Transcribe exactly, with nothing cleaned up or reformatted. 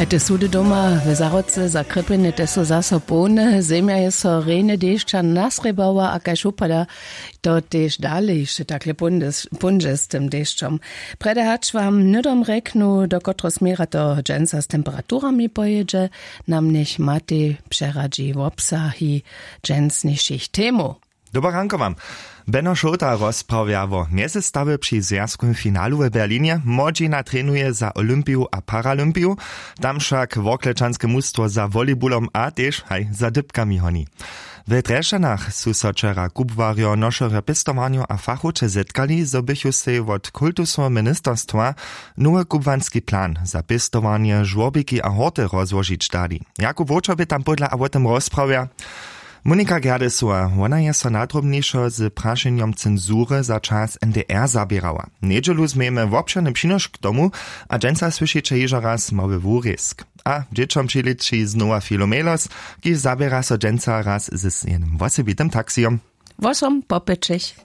Te sudy doma w Zahrodce za Krěpjenje te su zaso połne. Zemja je so rjenje dešća nasrěbała a kaž wupada, to tež dale hišće takle póńdźe z tym dešćom. Prjedy hač wam hnydom rjeknu, do kotreho směra to dźensa z temperaturami pojědźe, nam njech Matej přeradźi wobsahi dźensnišich temow. Dobre ranko wam. Beno Šołta rozprawja wo mjezystawje při zwjazkowym finalu w Berlinje. Młodźina trenuje za Olympiju a Paralympiju. Tam wšak worklečanske mustwo za volejbulom a tež haj za dypkami honi. W Drježdźanach su so wčera kubłarjo, nošerjo pěstowarnjow a fachowče zetkali, zo běchu sej wot kultusoweho ministerstwa nowy kubłanski plan za pěstowarnje, žłorbiki a horty rozłožić dali. Jakub Wowčer bě tam pódla a wo tym rozprawja. Monika Gerdesowa, wona je so nadrobnišo z prašenjom cenzury za čas N D R zaběrała. Njedźelu změjemy wobšěrny přinošk k tomu a dźensa słyšiće hižo raz mały wurězk. A dźěćom přilěči znowa Filomelos, kiž zaběra so dźensa raz z jednym wosebitym taksijom. Wosom po pěćich.